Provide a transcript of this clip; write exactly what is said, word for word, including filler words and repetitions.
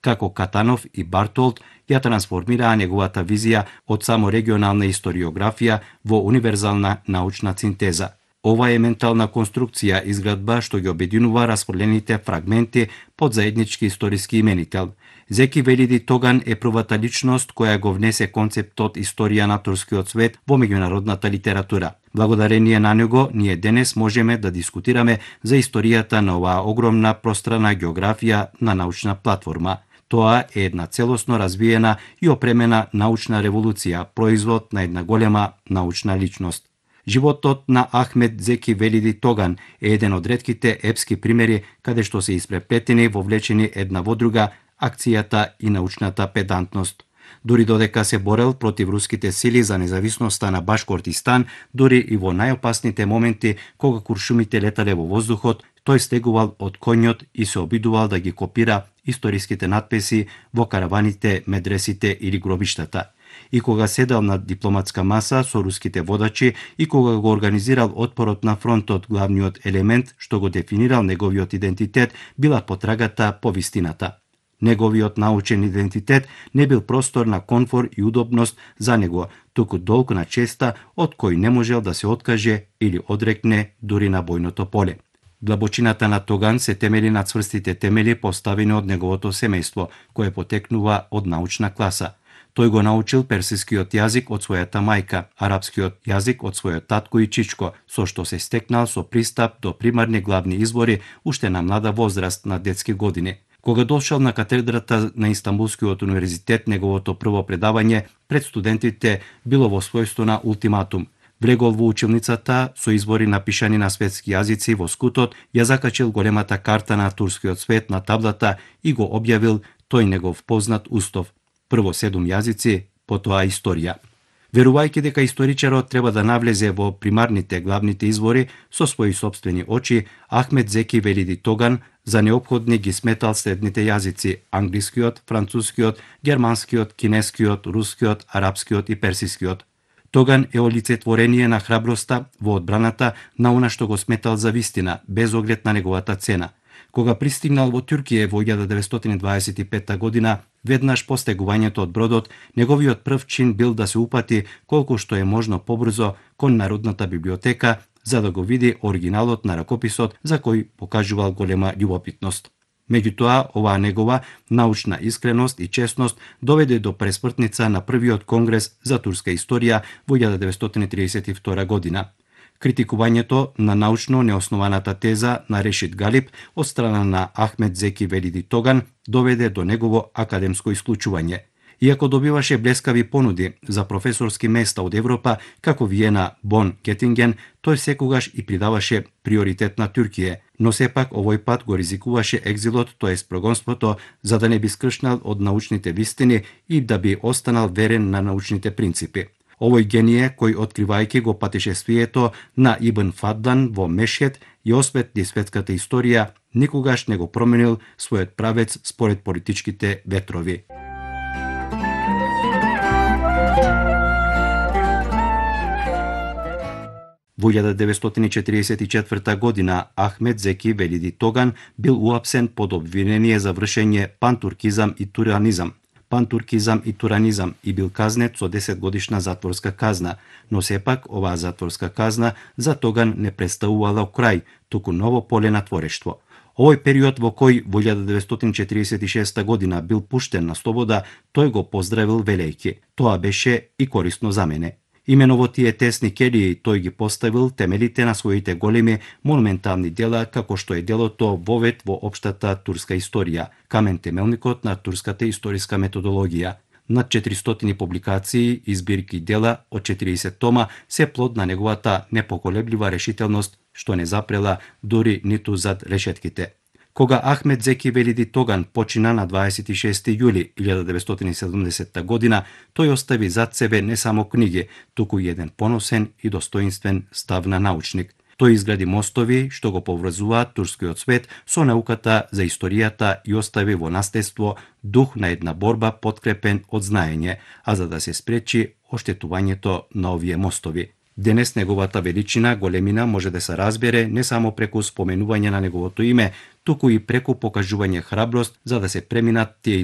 како Катанов и Бартолд ја трансформираа неговата визија од само регионална историографија во универзална научна синтеза. Ова е ментална конструкција изградба што ги обединува расфрлените фрагменти под заеднички историски именител. Зеки Велиди Тоган е првата личност која го внесе концептот историја на турскиот свет во меѓународната литература. Благодарение на него, ние денес можеме да дискутираме за историјата на оваа огромна пространа географија на научна платформа. Тоа е една целосно развиена и опремена научна револуција, производ на една голема научна личност. Животот на Ахмед Зеки Велиди Тоган е еден од ретките епски примери каде што се испреплетени, вовлечени една во друга акцијата и научната педантност. Дури додека се борел против руските сили за независноста на Башкортистан, дури и во најопасните моменти кога куршумите летале во воздухот, тој стегувал од коњот и се обидувал да ги копира историските надписи во караваните, медресите или гробиштата. И кога седал на дипломатска маса со руските водачи и кога го организирал отпорот на фронтот, главниот елемент што го дефинирал неговиот идентитет била потрагата по вистината. Неговиот научен идентитет не бил простор на комфор и удобност за него, туку долг на честа од кој не можел да се откаже или одрекне дури на бојното поле. Длабочината на Тоган се темели на цврстите темели поставени од неговото семејство, кое потекнува од научна класа. Тој го научил персискиот јазик од својата мајка, арапскиот јазик од својот татко и чичко, со што се стекнал со пристап до примарни главни извори уште на млада возраст на детски години. Кога дошол на катедрата на Истанбулскиот универзитет, неговото прво предавање пред студентите било во својство на ултиматум. Влегол во училницата со избори напишани на светски јазици во скутот, ја закачил големата карта на турскиот свет на таблата и го објавил тој негов познат устов. Прво седум јазици, потоа историја. Верувајќи дека историчарот треба да навлезе во примарните главните извори со своји сопствени очи, Ахмед Зеки Велиди Тоган за неопходни ги сметал следните јазици: англискиот, францускиот, германскиот, кинескиот, рускиот, арапскиот и персискиот. Тоган е олицетворение на храброста во одбраната на она што го сметал за вистина, без оглед на неговата цена. Кога пристигнал во Туркија во илјада деветстотини дваесет и петта година, веднаш по стегувањето од бродот, неговиот прв чин бил да се упати колку што е можно побрзо кон Народната библиотека, за да го види оригиналот на ракописот за кој покажувал голема љубопитност. Меѓутоа, оваа негова научна искреност и честност доведе до пресмртница на првиот конгрес за турска историја во илјада деветстотини триесет и втора година. Критикувањето на научно неоснованата теза на Решид Галип од страна на Ахмед Зеки Велиди Тоган доведе до негово академско исклучување. Иако добиваше блескави понуди за професорски места од Европа, како Виена, Бон, Кетинген, тој секогаш и придаваше приоритет на Туркија, но сепак овој пат го ризикуваше екзилот, тоест прогонството, за да не би скршнал од научните вистини и да би останал верен на научните принципи. Овој гение, кој откривајќи го патешествието на Ибн Фаддан во Мешхед и осветли светската историја, никогаш не го променил својот правец според политичките ветрови. Во илјада деветстотини четириесет и четврта година Ахмед Зеки Велиди Тоган бил уапсен под обвинение за вршење пантуркизам и туранизам. пантуркизам и туранизам и бил казнет со десет годишна затворска казна, но сепак оваа затворска казна за Тоган не представувала крај, туку ново поле на творештво. Овој период во кој во илјада деветстотини четириесет и шеста година бил пуштен на слобода, тој го поздравил велејќи: "Тоа беше и корисно за мене." Имено во тие тесни келии тој ги поставил темелите на своите големи монументални дела, како што е делото Вовет во општата турска историја, камен темелникот на турската историска методологија. Над четиристотини публикации и збирки дела од четириесет тома се плод на неговата непоколеблива решителност, што не запрела дури ниту зад решетките. Кога Ахмед Зеки Велиди Тоган почина на дваесет и шести јули илјада деветстотини и седумдесетта година, тој остави зад себе не само книги, туку и еден поносен и достоинствен став на научник. Тој изгради мостови што го поврзуваат турскиот свет со науката за историјата и остави во наследство дух на една борба подкрепен од знаење, а за да се спречи оштетувањето на овие мостови. Денес неговата величина, големина може да се разбере не само преку споменување на неговото име, туку и преку покажување храброст за да се преминат тие